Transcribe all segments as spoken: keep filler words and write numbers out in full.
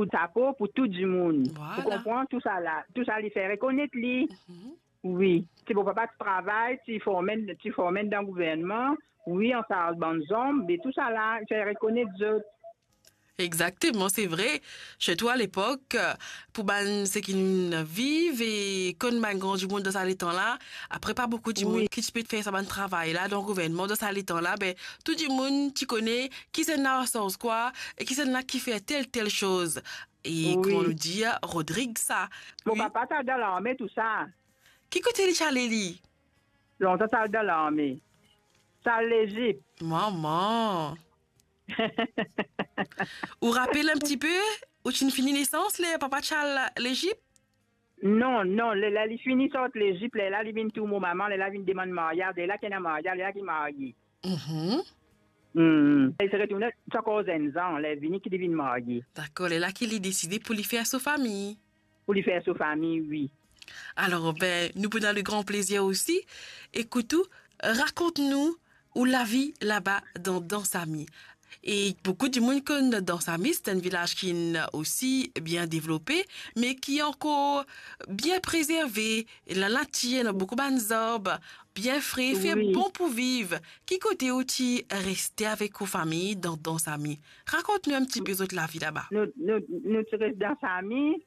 Kout sapo pou tou dimoun. Vwala. Pou konpran tou sa la, tou sa li fer rekonet li. Mhm. Wi. Ti mo papa ti travay, ti forme, ti forme dan gouvernman. Wi, an sarz bann zom, be tou sa la, fer rekonet zot. Exakteman, se vre. Sirtou alepok, pou bann seki viv e konn bann gran dimoun dan sa letan la, apre pa boukou dimoun Wi. Ki ti pe fer sa bann travay la dan gouvernman dan sa letan la, be, tou dimoun ti kone kisannla sarz kwa e kisannla ki fer tel, tel soz. E Wi. Kouma nou dir, Rodrig sa. Mo Wi. Papa ti al dan larme tou sa. Ki kote li ti ale li? Lontan ti al dan larme. Ti al Lezip. Mama. Ou rapel enn tipe, ou ti fini nesans, ler papa ti al Lezip? Non, non, ler, ler li fini sort Lezip, lerla li vinn trouv mo mama, lerla vinn demann maryaz, lerla ki ena maryaz, lerla ki marye. Mhm. Hmm. Li ti retourne, ti ankor zenn zan, ler vini ki li vinn marye. Dakor, lerla ki li deside pou li fer so fami. Pou li fer so fami, wi. Alor, be, nou pou ena le gran plezir osi ekout ou, rakont nou ou lavi laba dan Dansami. E boukou dimoun konn Dansami, se enn vilaz ki osi bien devlope, me ki ankor bien prezerve, lanatir, ena boukou bann zarb, bien fre, fer Wi. Bon pou viv. Ki kote ou ti reste avek ou fami dan Dansami? Rakont nou enn tipe zot lavi laba. Nou, nou, nou ti res Dansami,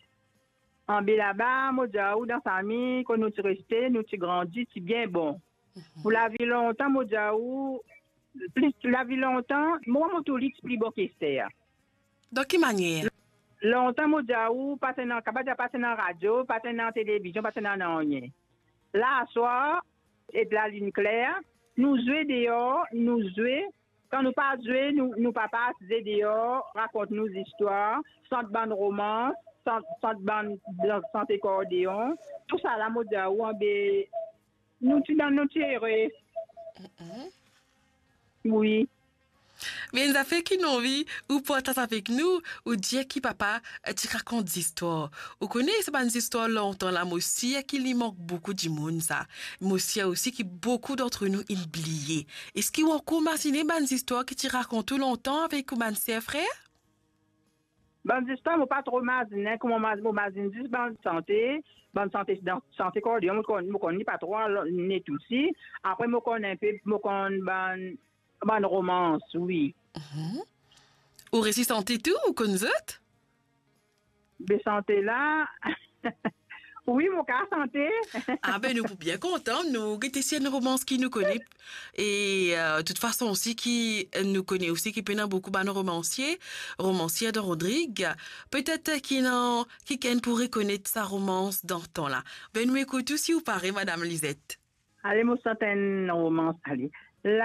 anbe laba, mo dir ou, Dansami, kot nou ti reste, nou ti grandi, ti bien bon. Mhm. Pou lavi lontan, mo dir ou, plis lavi lontan, mo, mo tou li ti pli bon ki ser. Dan ki manier? Lontan, mo dir ou, pa ti ena, kapav dir pa ti ena radio, pa ti ena televizion, pa ti ena nanye. Laswar, ek lalinn kler, nou zwe deor, nou zwe. Kan nou pa zwe, nou, nou papa asize deor, rakont nou zistwar, sant bann romans, sant, sant bann, sant akordeon. Tou sa la, mo dir ou, anbe, nou ti dan, nou ti ere. Mm-mm. Wi. Me enn zafer ki nou anvi ou partaz avek nou, ou dir ki papa, eh, ti rakont zistwar. Ou kone sa bann zistwar lontan la, mo sir ki li mank boukou dimoun sa. Mo sir osi ki boukou dantre nou inn bliye. Eski ou ankor mazine bann zistwar ki ti rakont ou lontan avek ou bann ser frer? Bann zistwar, mo pa tro mazine, kouma mo maz-, mo mazinn zis bann sante, bann sante, dan, sante akordeon, mo konn, mo konn li pa tro, alor, net osi. Apre, mo konn enpe, mo konn bann, bann romans, wi. Mhm. Ou resi sante tou, ou konn zot? Be sante la, wi, mo kapav sante. Ah be, nou pou bien kontan, nou gete si enn romans ki nou kone. E, eh, toutfason osi ki, eh, nou kone osi ki pena boukou bann romansie, romansier dan Rodrig. Petet ki ena kikenn pou rekonet sa romans dan tan la. Be nou ekout ou si ou pare, Madam Lizette. Ale, mo sant enn romans, ale. La